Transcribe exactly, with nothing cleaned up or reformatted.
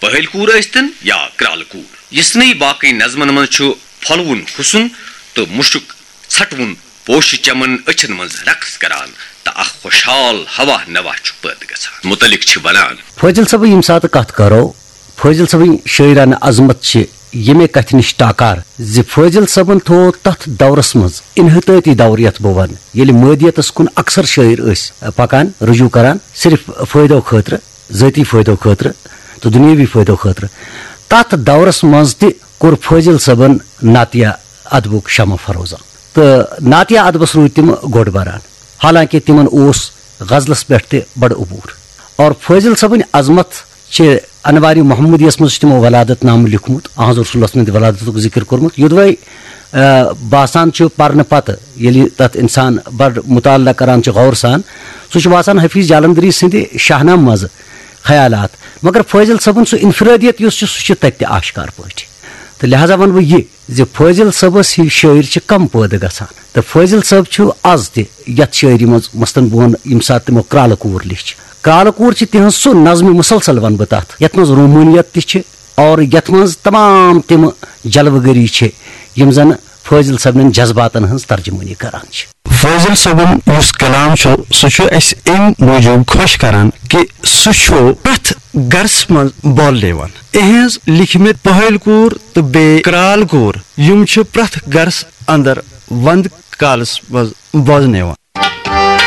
پہلۍ کوٗر ٲسۍتن یا کرٛالہٕ کوٗر، یِژھنٕے باقٕے نظمن منٛز چھُ پھۄلوُن حُسن تہٕ مُشُک ژھٹوُن پوشہٕ چمن أچھن منٛز رقص کران تہٕ اکھ خۄشحال ہوا نوا چھُ پٲدٕ گژھان۔ متعلق چھِ ونان۔ فٲضل صٲبٕنۍ ییٚمہِ ساتہٕ کتھ کرو، فٲضل صٲبٕنۍ شٲعرانہٕ عظمت چھِ ییٚمے کتھِ نِش ٹاکار زِ فٲضل صٲبن تھوو تتھ دورس منٛز انحطٲطی دور، یتھ بہٕ ونہٕ، ییٚلہِ مٲدیتس کُن اکثر شٲعر ٲسۍ پکان، رجوع کران، صرف فٲیدو خٲطرٕ، ذٲتی فٲیدو خٲطرٕ تہٕ دُنیٲوی فٲیدو خٲطرٕ۔ تتھ دورس منٛز تہِ کوٚر فٲضل صٲبن نعتیہ ادبُک شمع فروزان تہٕ نعتیہ ادبس روٗدۍ تِم گۄڈ بران، حالانکہ تِمن اوس غزلس پٮ۪ٹھ تہِ بڑٕ عبور۔ اور فٲضل صٲبٕنۍ عظمت چھِ انوارِ محمدیس منٛز چھُ تِمو ولادت نامہٕ لیوٗکھمُت، احمد رسولس منٛز تہِ ولادتُک ذکر کوٚرمُت۔ یوٚدوے، آ، باسان چھُ پرنہٕ پتہٕ، ییٚلہِ تتھ انسان بڑٕ مطالعہ کران چھُ غور سان، سُہ چھُ باسان حفیظ جالندری سٕنٛدِ شاہنامہٕ منٛزٕ خیالات، مگر فٲضل صٲبُن سُہ انفرٲدیت یُس چھُ، سُہ چھُ تتہِ تہِ آشکار پٲٹھۍ۔ تہٕ لہذا ونہٕ بہٕ یہِ زِ فٲضل صٲبس ہِوۍ شٲعر چھِ کم پٲدٕ گژھان، تہٕ فٲضل صٲب چھُ از تہِ یتھ شٲعری منٛز، مثلاً بہٕ ونہٕ، ییٚمہِ ساتہٕ تِمو کرٛالہٕ کوٗر لیچھ، کرٛالہٕ کوٗر چھِ تِہنٛز سُہ نظمِ مسلسل ونہٕ بہٕ تتھ، یتھ منٛز رومٲنیت تہِ چھِ اور یتھ منٛز تمام تِم جلوٕ گٔری چھِ، یِم زن فٲضل صٲبنٮ۪ن جذباتن ہٕنٛز ترجمٲنی کران چھِ۔ فٲضل صٲبُن یُس کلام چھُ، سُہ چھُ اَسہِ اَمہِ موٗجوٗب خۄش کران کہِ سُہ چھُ پرٛٮ۪تھ گرس منٛز بولنہٕ یِوان۔ اِہِنٛز لیٖکھمٕتۍ پہٲلۍ کوٗر تہٕ بیٚیہِ کرٛال کوٗر، یِم چھِ پرٛٮ۪تھ گرس اندر ونٛدٕ کالس منٛز بوزنہٕ یِوان۔